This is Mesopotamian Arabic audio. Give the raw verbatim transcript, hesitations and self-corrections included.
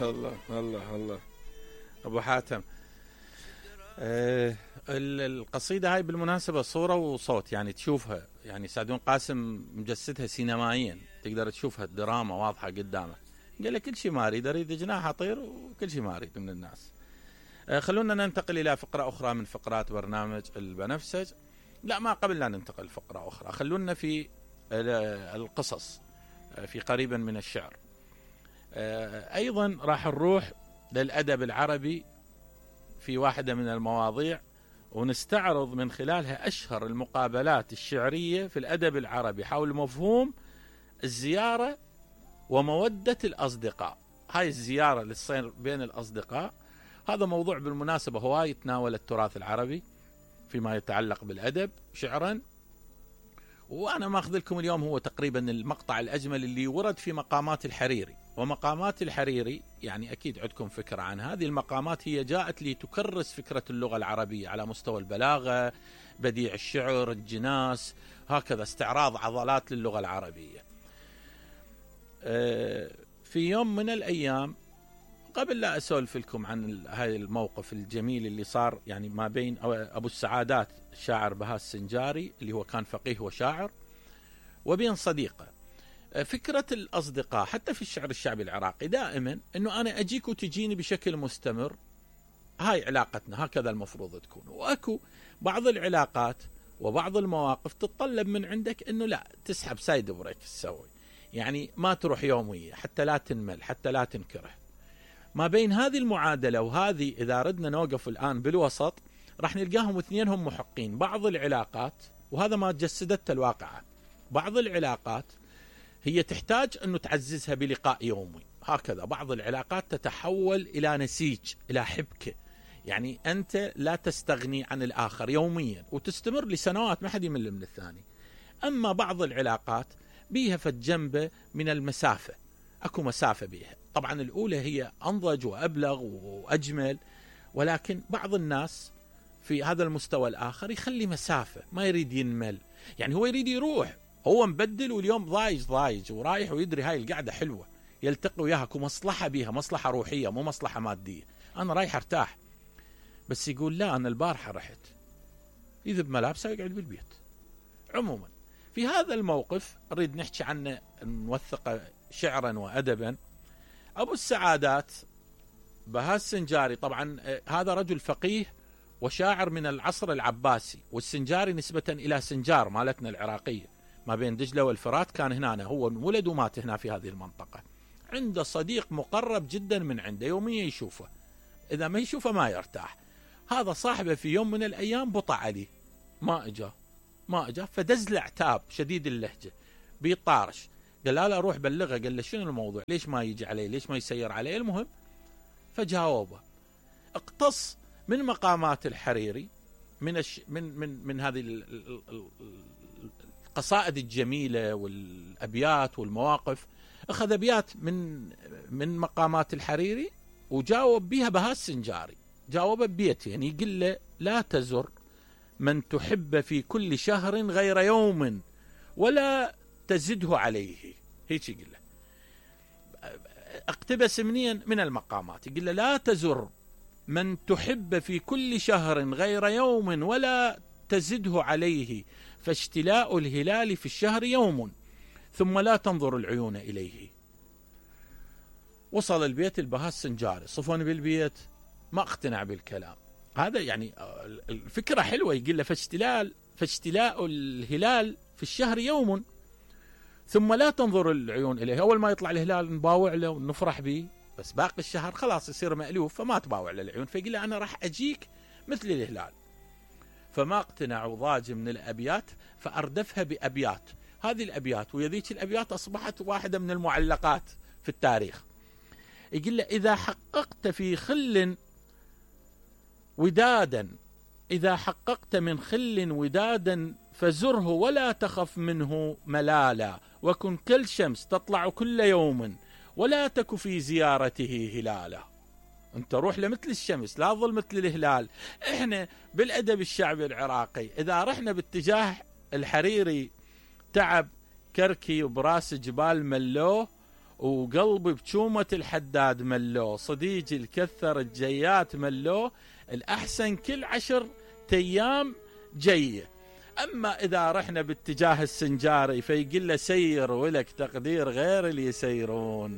الله الله الله ابو حاتم. أه القصيدة هاي بالمناسبة صورة وصوت، يعني تشوفها، يعني سعدون قاسم مجسدها سينمائيا، تقدر تشوفها الدراما واضحة قدامك. قال لك كل شيء ما اريد، اريد جناح اطير وكل شيء ما اريد من الناس. أه خلونا ننتقل الى فقرة اخرى من فقرات برنامج البنفسج. لا، ما قبل لا ننتقل فقرة اخرى، خلونا في القصص، في قريبا من الشعر. أه ايضا راح نروح للادب العربي في واحدة من المواضيع، ونستعرض من خلالها أشهر المقابلات الشعرية في الأدب العربي حول مفهوم الزيارة ومودة الأصدقاء. هاي الزيارة اللي تصير بين الأصدقاء، هذا موضوع بالمناسبة هواي يتناول التراث العربي فيما يتعلق بالأدب شعرا. وأنا ماخذ لكم اليوم هو تقريبا المقطع الأجمل اللي ورد في مقامات الحريري. ومقامات الحريري يعني أكيد عندكم فكرة عن هذه المقامات، هي جاءت لتكرس فكرة اللغة العربية على مستوى البلاغة، بديع الشعر، الجناس، هكذا استعراض عضلات للغة العربية. في يوم من الأيام، قبل لا أسولف لكم عن هذا الموقف الجميل اللي صار يعني ما بين أبو السعادات الشاعر بهاء السنجاري اللي هو كان فقيه وشاعر، وبين صديقه. فكرة الأصدقاء حتى في الشعر الشعبي العراقي دائما أنه أنا أجيك وتجيني بشكل مستمر، هاي علاقتنا، هكذا المفروض تكون. وأكو بعض العلاقات وبعض المواقف تتطلب من عندك أنه لا تسحب سايد بريك تسوي، يعني ما تروح يومية حتى لا تنمل، حتى لا تنكره. ما بين هذه المعادلة وهذه، إذا ردنا نوقف الآن بالوسط راح نلقاهم اثنينهم محقين. بعض العلاقات، وهذا ما جسدت الواقعة، بعض العلاقات هي تحتاج أنه تعززها بلقاء يومي، هكذا بعض العلاقات تتحول إلى نسيج، إلى حبكة، يعني أنت لا تستغني عن الآخر يوميا وتستمر لسنوات، ما حد يمل من الثاني. أما بعض العلاقات بيها فالجنبة من المسافة، أكو مسافة بيها. طبعا الأولى هي أنضج وأبلغ وأجمل، ولكن بعض الناس في هذا المستوى الآخر يخلي مسافة، ما يريد ينمل، يعني هو يريد يروح، هو مبدل واليوم ضايج ضايج ورايح ويدري هاي القعدة حلوة، يلتقي وياها كمصلحة بيها، مصلحة روحية مو مصلحة مادية، أنا رايح ارتاح. بس يقول لا، أنا البارحة رحت، يذب ملابسه ويقعد بالبيت. عموما في هذا الموقف نريد نحكي عنه، نوثقه شعرا وأدبا. أبو السعادات بهاء السنجاري طبعا هذا رجل فقيه وشاعر من العصر العباسي، والسنجاري نسبة إلى سنجار مالتنا العراقية ما بين دجلة والفرات، كان هنا، هو ولد ومات هنا في هذه المنطقة. عنده صديق مقرب جدا من عنده، يوميا يشوفه، إذا ما يشوفه ما يرتاح. هذا صاحبه في يوم من الأيام بطع عليه، ما إجا ما إجا فدز له عتاب شديد اللهجة، بيطارش، قال لا لا روح بلغه، قال له شنو الموضوع، ليش ما يجي عليه، ليش ما يسير عليه. المهم فجاوبه، اقتص من مقامات الحريري، من الش... من من من هذه القصائد الجميلة والأبيات والمواقف، أخذ أبيات من من مقامات الحريري وجاوب بها بهاء السنجاري. جاوب ببيت، يعني يقول له لا تزر من تحب في كل شهر غير يوم ولا تزده عليه، هيك يقول له. اقتبس منين؟ من المقامات، يقول له لا تزر من تحب في كل شهر غير يوم ولا تزده عليه، فاشتلاء الهلال في الشهر يوم ثم لا تنظر العيون إليه. وصل البيت البهاء السنجاري، صفون بالبيت، ما اقتنع بالكلام هذا، يعني الفكرة حلوة، يقول له فاشتلاء فاشتلاء الهلال في الشهر يوم ثم لا تنظر العيون إليه. أول ما يطلع الهلال نباوع له ونفرح به، بس باقي الشهر خلاص يصير مألوف، فما تباوع للعيون، فيقول له أنا راح أجيك مثل الهلال. فما اقتنع وضاج من الأبيات، فأردفها بأبيات. هذه الأبيات ويذيك الأبيات أصبحت واحدة من المعلقات في التاريخ. يقول له إذا حققت في خل ودادا، إذا حققت من خل ودادا فزره ولا تخف منه ملالا، وكن كالشمس تطلع كل يوم ولا تك في زيارته هلالا. انت روح لمثل الشمس، لا ظل مثل الهلال. احنا بالأدب الشعبي العراقي إذا رحنا باتجاه الحريري، تعب كركي وبراس جبال ملوه، وقلبي بشومة الحداد ملوه، صديجي الكثر الجيات ملوه، الأحسن كل عشر أيام جيه. أما إذا رحنا باتجاه السنجاري فيقول له سير ولك تقدير غير اللي يسيرون.